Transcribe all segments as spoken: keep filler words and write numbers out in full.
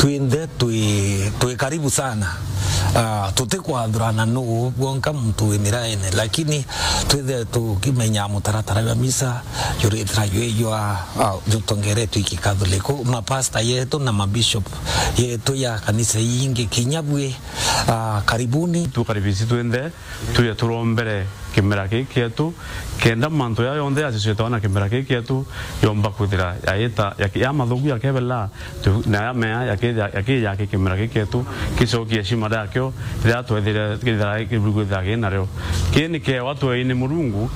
Twinthe twi, twi karibu sana. Ah, tutikwathurana nuu bwonka muntu wi miraene, lakini twithe tukimenya mutaratara jwa misa juritira jwi jwa, ah, jutongeretwe iki Catholic. Mapasta yetu na mabishop yetu ya kanisa iingi kinya bwi, ah, karibuni. Tukaribisi twinthe. Tuje turombere kimera giki kietu, kenda mantu ya yonthe yacicwitwa na kimera giki kietu yomba kwithira yaita, ya, ya mathugu yakebela, tu, na ya mea yakija, yakija ki kimera giki kietu, kicokie heshima yakio, riria twethire kithira, kithira ki nario. Kii ni kiewa tweini Murungu,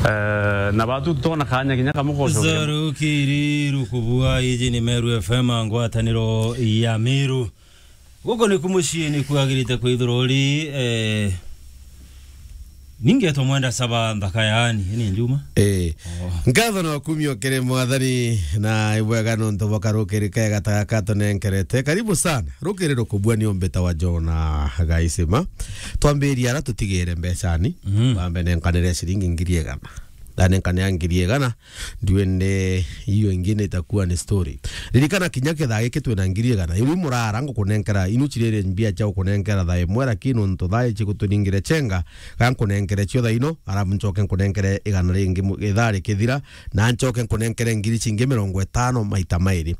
eh, na batu tona kanya kinya kamwe gocokera. Zarukiri rukubua, iji ni Meru F M, ngwataniro ya Meru. Guku niku mucii niku agirite kwithirwa uri, eh, ningetwa Mwenda Saba nthaka yaani, ni njuma. Eh. Oh. Nkatho na ukumio kiri Mwathani, na ibwega nontu bwa karukiri kega ta gaka tunenkerete. Karibu sana. Rukiri rukubua ni umbita wa Jona Gaisima. Twambiria ara tutigire mbecani. Mhm. Wambe nenkanire ciringi ngiri igana. Ndanenkanira ngiri igana. Ndiwende hiyo ingine itakuwa ni story. Ririkana kinya kithaa giki twina ngiri igana. Iu murara ngukunenkera, inu ciriri mbia cia gukunenkera thaa imwe, lakini nontu thaa ici guturingire chenga, ga nkunenkere cio thaa ino, arabu ncoke nkunenkere igana ringi mu-, ithaa rikithira, na ncoke nkunenkere ngiri cingi mirongo itano maita mairi.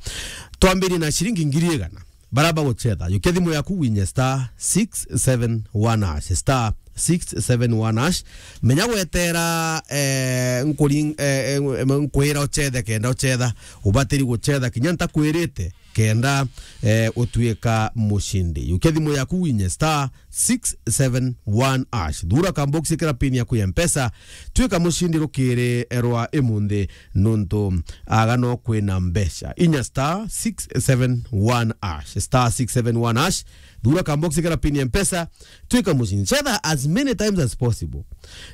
Twambirie na ciringi ngiri igana. Bara bagucetha, yukia thimu yaku winye star six seven one hash, star six seven one hash. Menya gwetera, eh, nkuring-, eh, eh, nkwira ucethe kenda ucetha, ubatiri gucetha kinya ntakwirite kenda, eh, utuika mucindi. Yukia thimu yaku winye star six seven one hash. Thura kamboksi kira pin yaku ya Mpesa, tuika mucindi rukiri rwa imunthi. Nontu aga no kwina mbeca. Inya star six seven one hash, star six seven one hash. Thura kamboksi kara pin ya Mpesa, tuika mucindi. Cetha as many times as possible.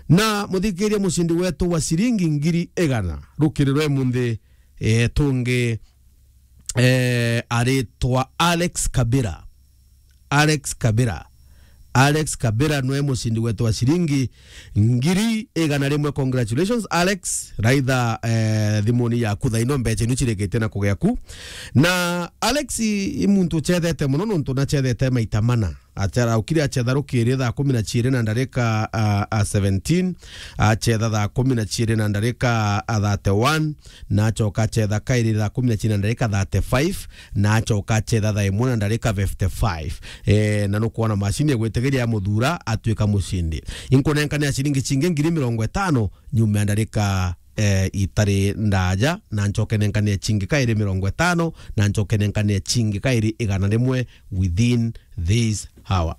Na muthikiria mucindi wetu wa ciringi ngiri igana, rukiri rwa imunthi, eh, tungi, eh, aritwa Alex Kabira. Alex Kabira. Alex Kabira nwe mucindi wetu wa ciringi ngiri igana rimwe. Congratulations, Alex. Raitha, eh, thimuni yaku thaino mbeca inu cirikite na kugia ku. Na Alex i, i muntu ucethete muno nontu nacethete maita mana. Acera ukiri acetha rukiri thaa kumi na ciiri na ndarika, a, a, seventeen, acetha thaa kumi na ciiri na ndarika, a, thirty-one, na acoka acetha kairi thaa kumi na ciiri na ndarika thirty-five, na acoka acetha thaa imwe na ndarika fifty-five. Eh, na nukwona macini egwitigiria ya muthura atuika mucindi. Inkunenkania ciringi cingi ngiri mirongo itano nyuma ya ndarika, eh, itari ndaja, na ncoke nenkanie cingi kairi mirongo itano, na ncoke nenkanie cingi kairi igana rimwe within this hour.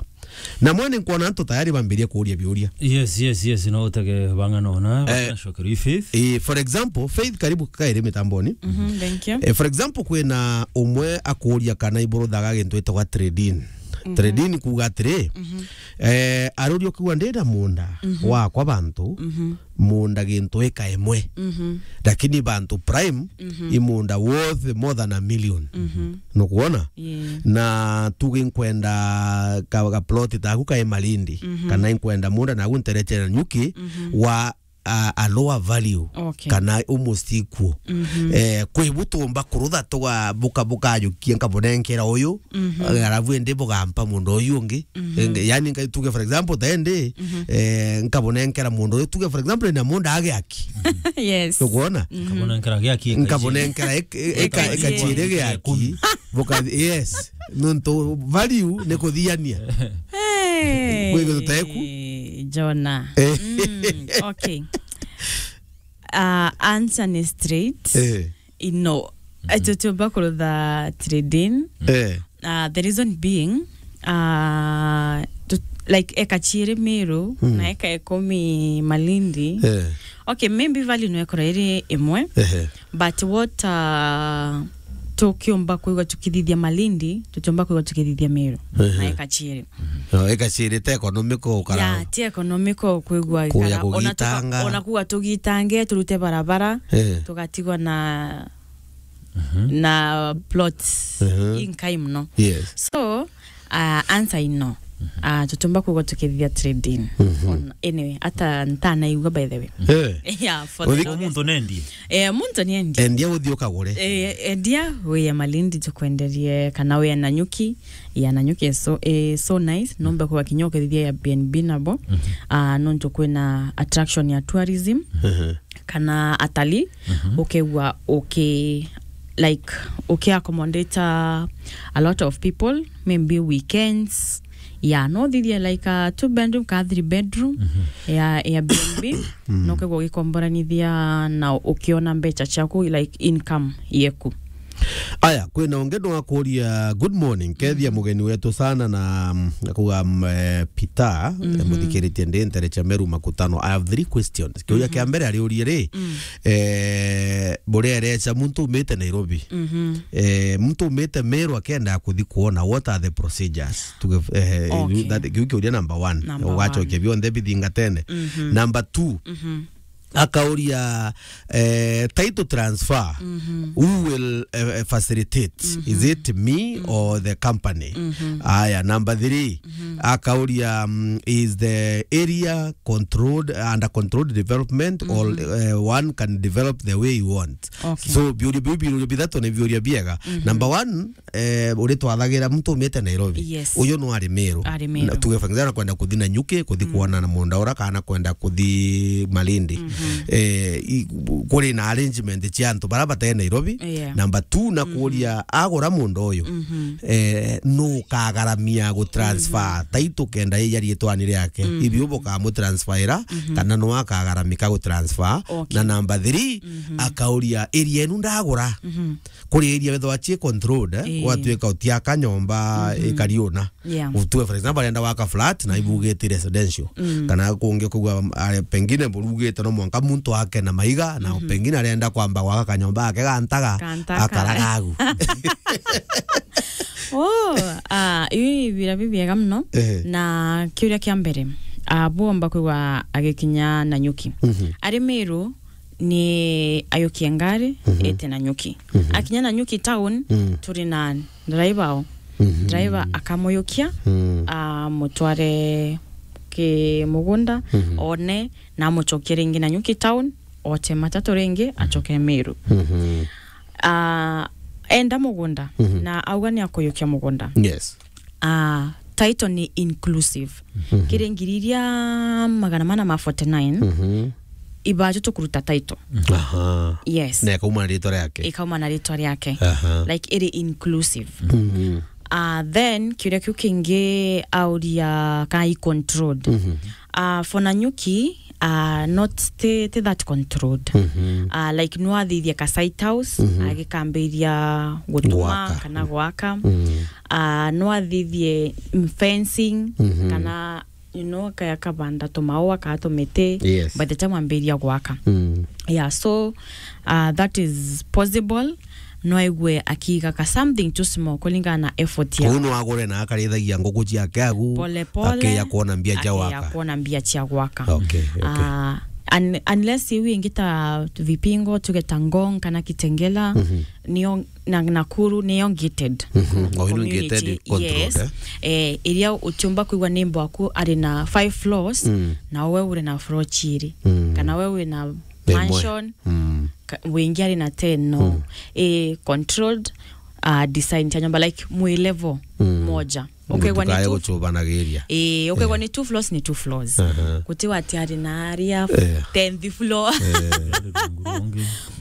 Na mwene nkwona antu tayari bambirie kuuria biuria. Yes, yes, yes, no utege bang'ana ona, eh, na cokeru i Faith. Eh, for example, Faith, karibu kairi mitamboni. Mhm, thank you. Eh, for example, kwina umwe akuuria kana iburuthaga gintu itagwa trading. Mhm. Trading kuuga atiri, mhm, eh, aruria ukiuga ndina munda, mhm, wakwa bantu, mhm, munda gintu eka imwe. Mhm. Lakini bantu prime, mhm, i munda worth more than a million. Mhm. Nukwona? Yeah. Na tuge nkwenda ka, ka plot taku kae Malindi, mhm, kana nkwenda munda nagu ntereche na nyuki, mhm, wa a, a lower value, okay, kana almost equal. Mhm. Eh, kwi bu tumba kurutha tuga buka, bukajukia nkabunenkera uyu, mhm, eh, alafu indi bugampa mundu uyu ungi. Mhm. Enge, yani ngai tuge for example, tende, mhm, eh, nkabunenkera mundu uyu, tuge for example, na mundu agiaki. Yes. Tukwona? Mhm. Nkabunenkera giaki, nkabunenkera ek-, e-, eka, eka, eka ciiri giaki. Buka, yes. Nontu value ni kuthiania. Hey, kwi gintu teku? Jona. Eh. Mm, okay. Uh, answer ni straight. Eh. No. Mhm. Tutiumba kurutha trading. Eh. Uh, the reason being, uh, tu, like, eka ciiri Meru, mm, na eka ikumi Malindi. Eh. Okay, maybe value no ekora iri imwe. Ehe. But what, uh, tukiumba kwigua tukithithia Malindi, tutiumba kwigua tukithithia Meru. Ehe. Na eka ciiri. No, eka ciiri te economical ukara. Ya, ti economical kwigua kuya ikara. Ona tuka-, kugitanga. Ona kuga tugitange, turute barabara, eh, tugatigwa na, mhm, na plots, mhm, inkai muno. Yes. So, uh, answer i no. Ah, tutiumba kwigua tukithithia trading. Mhm. On-, anyway, ata ntanaigua, by the way. Eh. Yeah, for the Uthi- longest. Muntu nendie. Eh, muntu nendie. Endia uthi ukagure. Eh, endia, wia Malindi tukwenderie, kana wia Nanyuki. Ya Nanyuki is so, eh, so nice. Nombe kwa kinya ukithithia Airbnb nabo. Mhm. Ah, nontu kwina attraction ya tourism. Mhm. Kana atalii, Mhm. ukegua uki-, like, uki accommodate a lot of people, maybe weekends. Ya, no thithie, like, a two bedroom ka three bedroom Mhm. ya Airbnb, Mm. no kegua ugikomboranithia na ukiona mbecha ciaku, like, income yeku. Aya, kwina ungi no akuria, "Good morning, kethia Mhm. mugeni wetu sana na, mm, akuga, mm, eh, Peter, eh, Mhm. muthikiritie ndi ntere cha Meru Makutano. I have three questions." Kiuria kia Mhm. mbere ariurie ri, Mm. eh, buria erecha muntu umite Nairobi. Mhm. Eh, muntu umite Meru akenda kuthi kuona, what are the procedures? Tuge, eh, Okay. that, kiu kiuria number one. Number Ugacokia one. Bionthe bithingatene. Mhm. Number two, Mhm. akauria, eh, title transfer, Mhm. who will, eh, facilitate? Is Mhm. it me Mm. or the company? Mhm. Aya, number three, Mhm. akauria, um, is the area controlled, under controlled development, or, Mhm. eh, one can develop the way you want? Okay. So, biuria biu, biuria bithatu ni biuria biega. Mhm. Number one, eh, uri twathagira muntu umite Nairobi. Yes. Uyu no ari Meru. Ari Meru. Na tuge, for example, kwenda kuthi Nanyuki, kuthi Mm. kuona na munda ura, kana kwenda kuthi Malindi. Mhm. Eh, i-, kuri na arrangement cia antu bara bate Nairobi. Yeah. Number two, na Mhm. kuria agura munda uyu, Mhm. eh, nu ukagaramia gu transfer Mhm. title kenda ija rietwani riake. Mhm. Ibi ubu kamutransfera, Mhm. kana nu akagaramika gu transfer. Okay. Na number three, Mhm. akauria, area enu ndagura. Mhm. Kuri area wethwa ci controlled, eh, Ii. gwatuika utiaka nyomba Mhm. ikari una. Yeah. Utue, for example, arenda gwaka flat na Mhm. ibugite residential. Mm. Kana kungi kugua, are, pengine burugite no mwanka muntu ake na maiga, na Mhm. pengine arenda kwamba gwaka kanyomba gake ga ntaga, Ga ntaga. Akaraga agu. Oh, ah, iu ibira bibiega muno. Ehe. Na kiuria kia mbere, ah, bwomba kwigua agikinya Nanyuki. Mhm. Ari Meru, ni ayukie ngari, Mhm. ete Nanyuki. Mhm. Akinya Nanyuki town, Mm. turi na driver o. Mhm. Driver akamuyukia, Mm. amutware ki mugunda, Mhm. one, na amucokie ringi Nanyuki town, ote matatu ringi, acoke Meru. Mhm. Ah, enda mugunda, Mhm. na auga ni akuyukia mugunda. Yes. Ah, title ni inclusive. Mhm. Kiri ngiri iria magana mana ma forty nine, Mhm. ibaju tukuruta title. Aha. Yes. Na ikauma na ritwa riake. Ikauma na ritwa riake. Aha. Like, iri inclusive. Mhm. Ah, then, kiuria kiu kingi auria kana i controlled. Mhm. Ah, for Nanyuki, ah, not ti, ti that controlled. Mhm. Ah, like, no athithie ka site house, Mhm. agikambiria gutuma Gwaka. kana gwaka. Mhm. Ah, no athithie, mm, fencing, Mhm. kana, you know, kaya kabanda tumaua kana tumiti, Yes. by the time ambiria gwaka. Mm. Yeah, so, ah, that is possible. No aigue akiiga ka something too small kulingana na effort ya Kuu no agure na akarithagia nguku ciake agu, Pole pole, akiya kuona mbia cia akiya gwaka. kuona mbia cia gwaka. Okay, okay. Ah, un-, unless iu ingi ta Vipingo, tuge ta Ngong kana Kitengela, Mhm. nio na Nakuru niyo gated Mhm. Oh, ino community. Gated controlled, Yes. eh? Eh, iria utiumba kwigua neighbor waku ari na five floors, Mm. na we uri na floor chiri. Mm. Kana we wina Imwe. mansion, Mm. ka-, wingi ari na ten, no. Mm. Eh, controlled, uh, design cia nyomba, like, mwi level Mm. moja. Ukegwa ni Ndutikae two gucubanagiria. Eh, ukegwa Eh. ni two floors, ni two floors. Aha. Guti wati ari na aria Eh. tenth floor. Eh.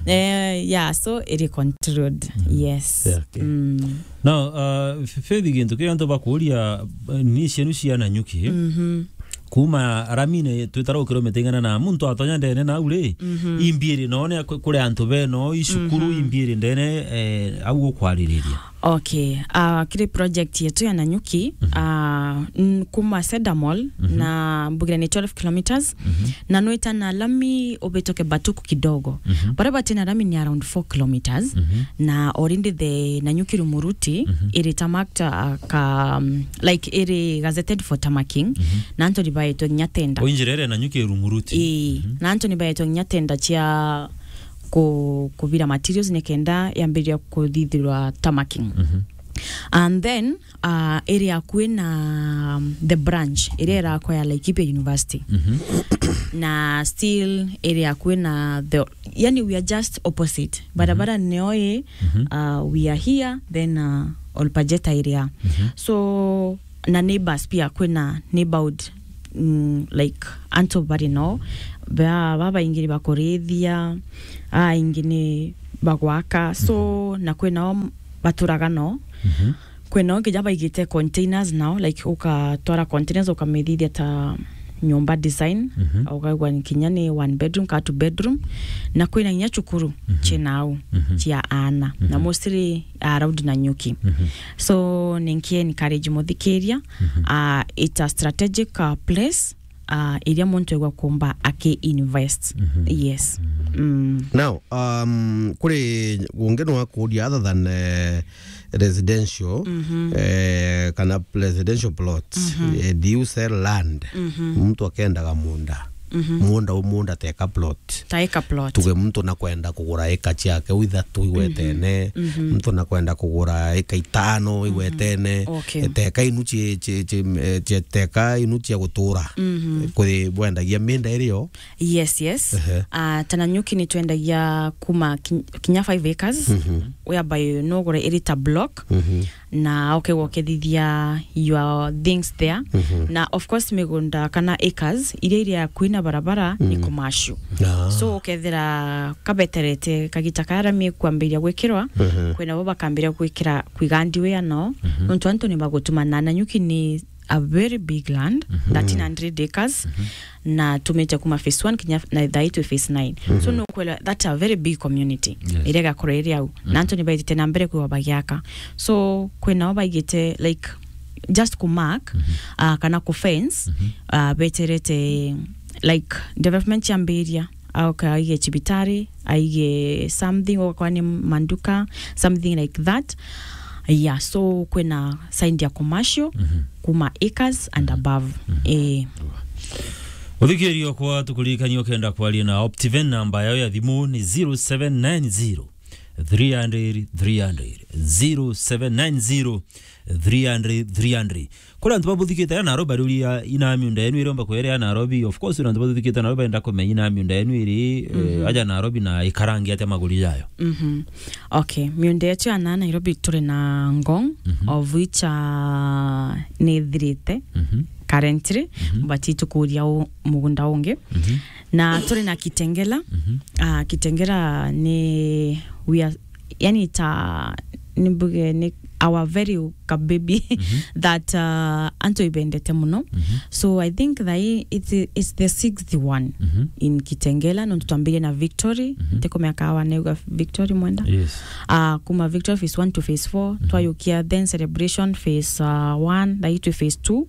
Eh, yeah, so iri controlled. Mm. Yes. Yeah, okay. Mm. Now, uh, F-, Faith, gintu kiria antu bakuria, eh, ni cienu cia Nanyuki. Mhm. Kuma aramine twitara ukiromita ing'ana na muntu atonya ndene nau ri, Mhm. imbiiri none ku-, kuri antu beno, icukuru, Mhm. imbiiri ndene, eh, au ukwaririria. Okay, ah, kiri project yetu ya Nanyuki, Mhm. ah, n-, kuma Cedar Mall Mhm. na Mbugire ni twelve kilometers, Mhm. na nwita na lami ubituke Batuku kidogo. Mhm. Baria batina lami ni around four kilometers, Mhm. na already the Nanyuki Rumuruti Mhm. iri tarmacked, ah, ka, um, like, iri gazetted for tarmacking, Mhm. na antu ni baetwe nginya tender. O injira iria Nanyuki Rumuruti. Ii, Mhm. na antu ni baetwe nginya tender cia ku-, kubira materials nikenda yambiriria kuthithirwa tarmacking. Mhm. And then uh, iri akui na um, the branch iria irakwa ya Laikipia University. Na still iri akui na the, yani we are just opposite barabara nio i. Uh, we are here, then uh, Olpajeta area. So na neighbors pia, kwina neighborhood mm, like antu bari no ba babaingi ni bakurithia, aingi ni bagwaka, so na kwinao baturaga no. Kwinao kinya baigite containers nao, like ukatwara containers ukamithithia ta nyomba design, ukaigua ni kinya ni one bedroom ka two bedroom, na kwina kinya cukuru cina au cia aana, na mostly around Nanyuki. So ninki encourage muthikiria, uh, it's a strategic uh, place uh, iria muntu egwa kumba aki invest. Yes. Mm. Now, um, kuri ungi no akuria other than uh, residential, eh, kana residential plots, eh, do you sell land? Muntu akendaga munda, munda u munda teka plot, taika plot, tuge muntu nakwenda kugura eka ciake u ithatu igwetene, muntu nakwenda kugura eka itano igwetene, okay, teka inu cie, cie, cie, eh, cie, teka inu cia gutura. Kuri bwendagia minda irio? Yes, yes. Ehe. Uh, ta Nanyuki ni twendagia kuma kin- kinya five acres, whereby nugure iri ta block, na ukegwa ukethithia your things there. Na of course migunda kana acres iria iri akui na barabara ni commercial. Ah. So ukethira kabeterete kagita karia rami ikwambiria gwikirwa, kwina bo bakambiria gwikira kwiga ndiwia no, nontu antu ni bagutumana. Nanyuki ni a very big land, thirteen hundred acres, na tumite kuma phase one kinya na thaa ii twi phase nine. So nukwela that's a very big community. Yes. Iria igakorwo iri au. Na antu ni baithite na mbere kwiwa bagiaka. So kwinao baigite like just ku mark, uh, kana ku fence, uh, beterete like development ciambiria, au ka aige cibitari, aige something, okorwa ni manduka, something like that. Yeah, so kwina sign ya commercial kuma acres and above. Eh. Uthikirio kwa tukuririkania ukenda kwaria na Optiven, namba yao ya thimu ni zero seven nine zero three hundred three hundred, zero seven nine zero three hundred three hundred. Kuri antu babuthikite ya Nairobi, bariuria ina miunda yenu iriomba kwere ya Nairobi. Of course, antu babuthikite Nairobi enda kumenya ina miunda yenu iri, eh, aja Nairobi na ikarangi atia maguri jayo. Okay, miunda yetu ya na Nairobi turi na Ngong, of which, uh, ni ithirite currently, but itukuria u- mugunda ungi. Na turi na Kitengela. Ah, Kitengela ni we are, yani ta nimbuge ni our very ka baby that uh, antu ibendete muno. So I think that i- it's, it's the sixth one in Kitengela, nontu twambirie na Victory, ntikumenya kawa neuga Victory mwenda. Yes. Uh, kuma Victory phase one to phase four, twayukia then Celebration phase uh, one, thai twi phase two.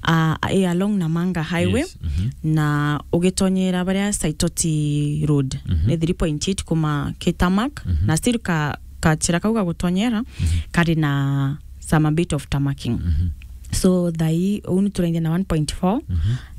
Uh, i along Namanga Highway, yes, na ugitonyera baria Saitoti Road, ni three point eight kuma ki tarmac, na still ka kachira kau ga gutonyera kari na some a bit of tarmacking. So thai uu ni turaingia na one point four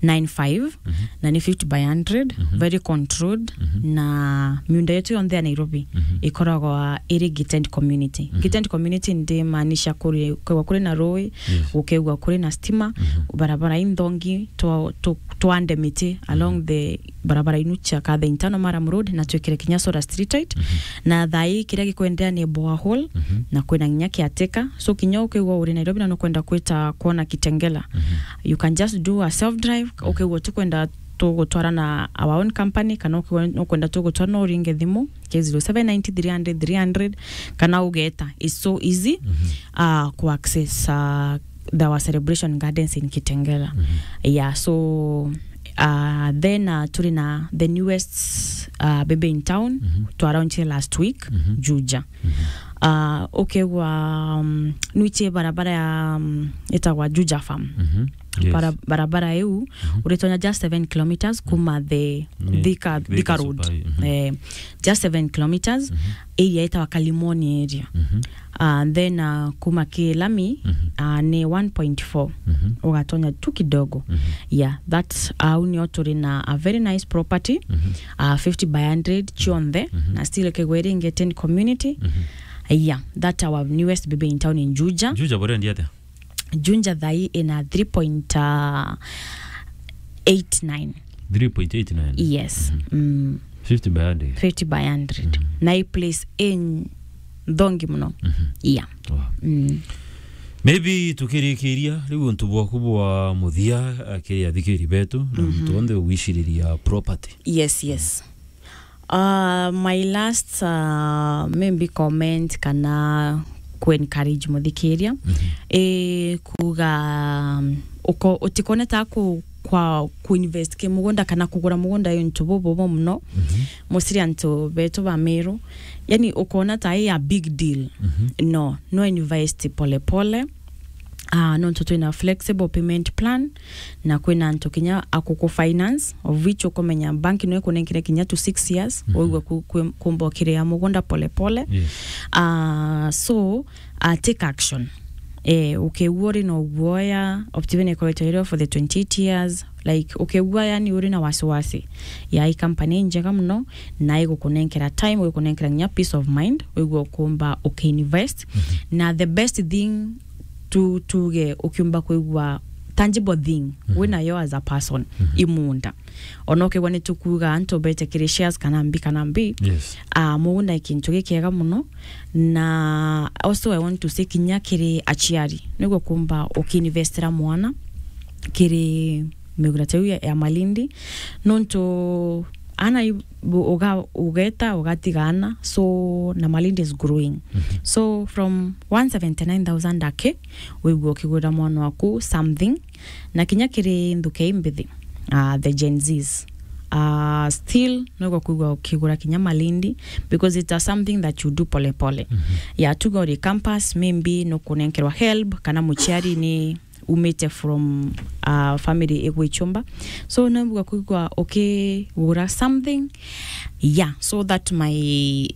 nine five, na ni fifty by hundred, very controlled, na miunda yetu yonthe ya Nairobi ikoragwa iri gated community. Gated community ndimaanisha kuri, kuri na rui, gukegua kuri na stima, barabara inthongi, twa- tu- twande miti along the barabara inu cia Kathe Internal Maram Road, na twikire kinya solar street light. Na thai kiria gikwenderea ni borehole, na kwina nginya caretaker. So kinya ukigwa uri Nairobi na nukwenda kwita kwona Kitengela, you can just do a self drive. Ukigwa tukwenda tugutwara na our own company, kana ukigwa nukwenda tugutwara no uringe thimu, ke zero seven nine three hundred three hundred, kana ugeta. It's so easy uh, ku access uh, our celebration gardens in Kitengela. Yeah, so uh, then uh, turi na the newest uh, baby in town, twaraunchire last week, Juja. Uh, ukegwa um, nwichie barabara ya um, itagwa Juja Farm. Yes. Bara- barabara iu uritonya just seven kilometers kuma the Ni- Thika, Thika Thika Road. Super, eh, just seven kilometers, area itawa Kalimoni area. Uh, then uh, kuma ki lami uh, ni one point four, ugatonya tu kidogo. Yeah, that au nio turi na a very nice property, uh, fifty by hundred chionthe, na still kegweri gated community. Yeah, that our newest baby in town in Juja. Juja borendi atia? Juja thai ina three point eight nine. Three point eight nine. Yes. Mm. Fifty by hundred. Fifty by hundred. Na i place in thongi muno. Yeah. Wow. Mm. Maybe tukirikiria riu untu bwaku bwa muthia akiri athikiri betu na muntu onthe ugwiciriria property. Yes, yes. Uh, my last, uh, maybe comment kana ku encourage muthikiria, i kuga, um, uko-, utikone ta ku-, kwa ku invest ki mugunda kana kugura mugunda i untu bububu muno. Musiri antu betu ba Meru, yani ukona ta i a big deal. No, no invest pole pole. Ah, nontu twina flexible payment plan, na kwina antu kinya akuku finance, of which ukumenya bank no ikunenkere kinya to six years, wigwe ku-, ku-, kumba ukiria mugunda pole pole. Yes. Ah, so, ah, take action. Eh, ukigua uri na uguoya, optivene ikoretwe iri for the twenty-eight years, like, ukigua yani uri na wasiwasi ya i company njega muno, na igukunenkera time, igukunenkera nginya peace of mind, wigwe ukumba ukiinvest. Na the best thing tu-, tuge ukiumba kwigua tangible thing winayo as a person, i munda. Ona ukigua ni tukuuga antu bete kiri shares kana mbi kana mbi, yes, ah, mugunda i kintu gikiega muno. Na also I want to say kinya kiri aciari, niguo kumba ukiinvestira mwana kiri migunda ta iu ya, ya Malindi, nontu ana i-, bu-, uga-, ugeta, ugatiga ana, so na Malindi is growing. So from one seventy-nine thousand ake, wigua ukigurira mwana waku something, na kinya kiri nthuke imbithi, ah, the Gen Zs, ah, still nigwa kwigua ukigura kinya Malindi, because it's a something that you do pole pole. Ya tuga uri campus, maybe nukunenkerwa help, kana muciari ni umite from, uh, family igwichumba. So, nambua kwigua ukigura something. Yeah, so that my,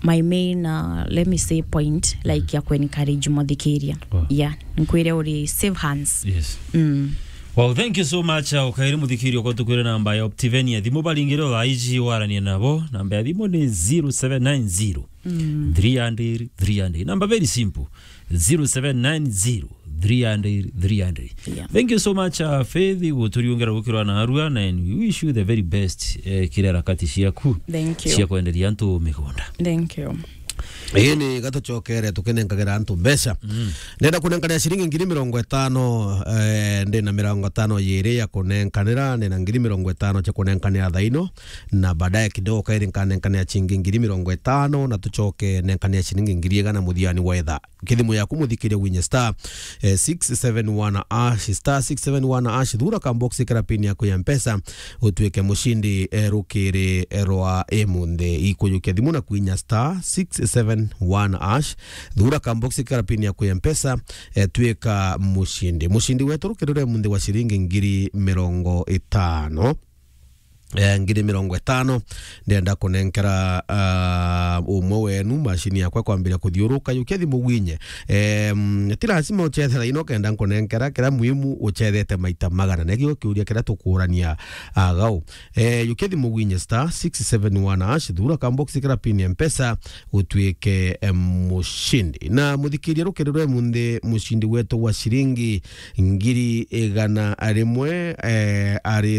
my main, uh, let me say point, like, ya ku encourage muthikiria. Wow. Yeah, nkwire uri safe hands. Yes. Mm. Well, thank you so much, uh, ukairi muthikiria kwa tukwire namba ya Optivenia. Thimu baringire thaa iji warania nabo. Namba ya thimu ni zero seven nine zero, three hundred, three hundred. Number very simple. Zero seven nine zero, three hundred, three hundred. Yeah. Thank you so much, uh, Faith, guturiungera gukirwa na arua, na and we wish you the very best, eh, kiri harakati ciaku. Thank you. Cia kwenderia antu migunda. Thank you. Ii ni gatucokere tukinenkagira antu mbeca. Mm. Ndenda kunenkanira ciringi ngiri mirongo itano, eh, ndina mirongo itano yiri ya kunenkanira, ndina ngiri mirongo itano cia kunenkanira thaino, na baadaye kidogo kairi nkanenkanira ciringi ngiri mirongo itano, na tucoke nenkanira ciringi ngiri igana muthiani wa ithaa. Kithimu yaku muthikiria winye star, eh, six seven one hash, star six seven one hash, thura ka box kara pin yaku ya Mpesa, utuike mucindi, eh, rukiri, eh, rwa imunthi. Ikujukia thimu na kwinya star six seven one hash, thura ka box kara pin yaku ya Mpesa, eh, tuika mucindi. Mucindi wetu rukiri rwa imunthi wa ciringi ngiri mirongo itano. Eh, ngiri mirongo itano, ndenda kunenkera, ah, umwe wenu macini yakwa kwambiria kuthiuruka, yukia thimu gwinye. Em, ti lazima uchethe thaino kenda nkunenkera, kira muhimu uchethete maita magana. Nekio kiuria kiria tukuurania, ah, gau. Eh, yukia thimu gwinye star six seven one hash, thura ka box kira pin ya Mpesa, utuike, em, mucindi. Na muthikiria rukiri rwa imunthi, mucindi wetu wa ciringi ngiri igana rimwe, eh, ari